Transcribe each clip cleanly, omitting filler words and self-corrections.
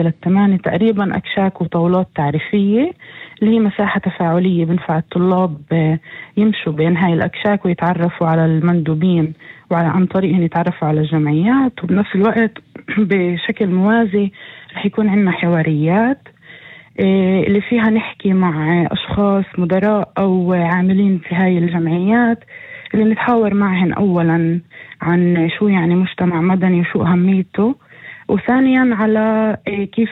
لل8 تقريبا أكشاك وطاولات تعريفية اللي هي مساحة تفاعلية بنفع الطلاب يمشوا بين هاي الأكشاك ويتعرفوا على المندوبين عن طريق أن يتعرفوا على الجمعيات. وبنفس الوقت بشكل موازي رح يكون عندنا حواريات اللي فيها نحكي مع أشخاص مدراء أو عاملين في هاي الجمعيات اللي نتحاور معهن أولا عن شو يعني مجتمع مدني وشو أهميته، وثانيا على كيف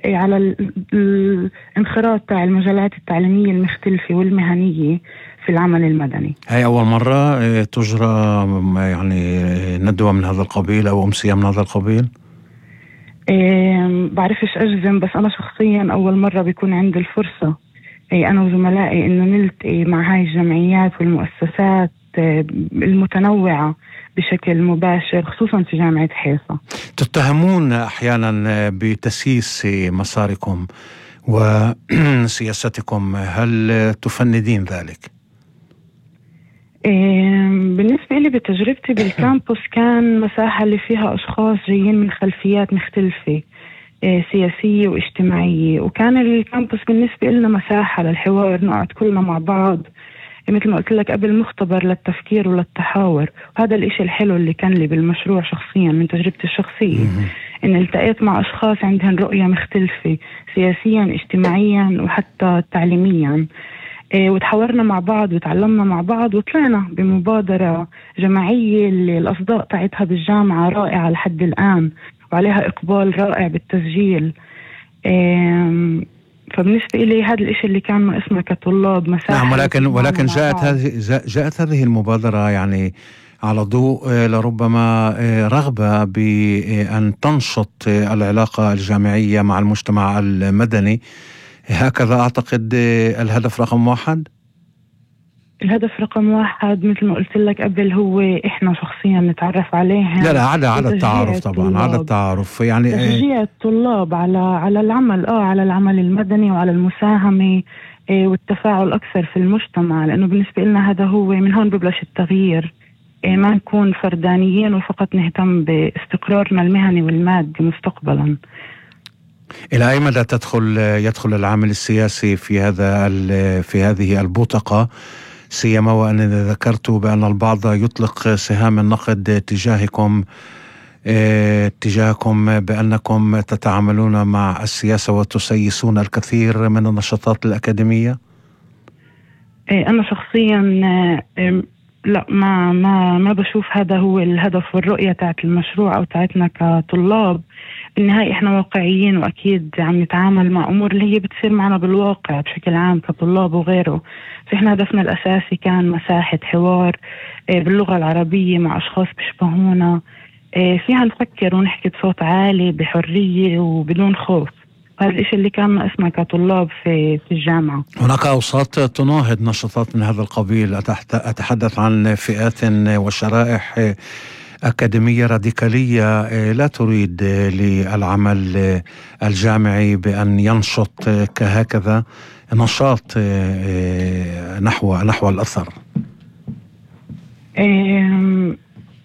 على الانخراط تاع المجالات التعليمية المختلفة والمهنية في العمل المدني. هاي أول مرة تجرى يعني ندوة من هذا القبيل أو أمسية من هذا القبيل؟ بعرفش أجزم، بس أنا شخصيا أول مرة بيكون عندي الفرصة أنا وزملائي إنه نلتقي مع هاي الجمعيات والمؤسسات المتنوعة بشكل مباشر، خصوصا في جامعة حيفا. تتهمون أحيانا بتسييس مساركم وسياستكم، هل تفندين ذلك؟ بالنسبة لي بتجربتي بالكامبوس كان مساحة اللي فيها أشخاص جايين من خلفيات مختلفة سياسية واجتماعية، وكان الكامبوس بالنسبة لنا مساحة للحوار، نقعد كلنا مع بعض مثل ما قلت لك قبل، مختبر للتفكير وللتحاور. وهذا الاشي الحلو اللي كان لي بالمشروع شخصيا من تجربتي الشخصية، ان التقيت مع اشخاص عندهم رؤية مختلفة سياسيا اجتماعيا وحتى تعليميا، وتحاورنا مع بعض وتعلمنا مع بعض، وطلعنا بمبادرة جماعية اللي الأصداء تاعتها بالجامعة رائعة لحد الآن وعليها إقبال رائع بالتسجيل. فبالنسبة إلي هذا الإشي اللي كان ناقصنا كطلاب مساحة. نعم، ولكن جاءت هذه المبادرة يعني على ضوء لربما رغبة بأن تنشط العلاقة الجامعية مع المجتمع المدني، هكذا أعتقد الهدف رقم 1. الهدف رقم 1 مثل ما قلت لك قبل هو إحنا شخصيا نتعرف عليها. لا على التعارف طبعا، على التعارف يعني تشجيع الطلاب على العمل على العمل المدني وعلى المساهمة والتفاعل أكثر في المجتمع، لأنه بالنسبة لنا هذا هو من هون ببلش التغيير. ما نكون فردانيين وفقط نهتم باستقرارنا المهني والمادي مستقبلا. إلى أي مدى يدخل العامل السياسي في هذه البوتقة، سيما وأنني ذكرت بأن البعض يطلق سهام النقد تجاهكم بأنكم تتعاملون مع السياسة وتسيسون الكثير من النشاطات الأكاديمية؟ أنا شخصيا لا، ما بشوف هذا هو الهدف والرؤية تاعت المشروع أو تاعتنا كطلاب. بالنهاية إحنا واقعيين، وأكيد عم نتعامل مع أمور اللي هي بتصير معنا بالواقع بشكل عام كطلاب وغيره. فإحنا هدفنا الأساسي كان مساحة حوار باللغة العربية مع أشخاص بيشبهونا، فيها نفكر ونحكي بصوت عالي بحرية وبدون خوف. هذا الشيء اللي كان ناقصنا كطلاب في الجامعة. هناك أوساط تناهض نشاطات من هذا القبيل، أتحدث عن فئات وشرائح أكاديمية راديكالية لا تريد للعمل الجامعي بأن ينشط كهكذا نشاط نحو الأثر.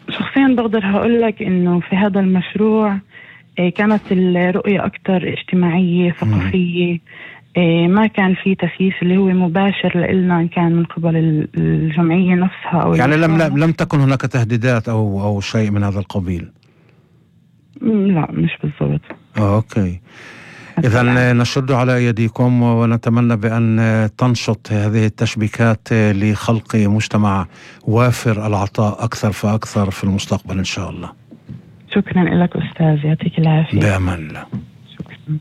شخصيا بقدر هقول لك إنه في هذا المشروع كانت الرؤية أكثر اجتماعية ثقافية، ما كان في تسييس اللي هو مباشر لإلنا إن كان من قبل الجمعية نفسها أو يعني لم تكن هناك تهديدات أو شيء من هذا القبيل؟ لا، مش بالضبط. أوكي، إذن نشد على يديكم ونتمنى بأن تنشط هذه التشبيكات لخلق مجتمع وافر العطاء أكثر فأكثر في المستقبل إن شاء الله. شكرا لك أستاذ، يعطيك العافية. بأمان الله. شكرا.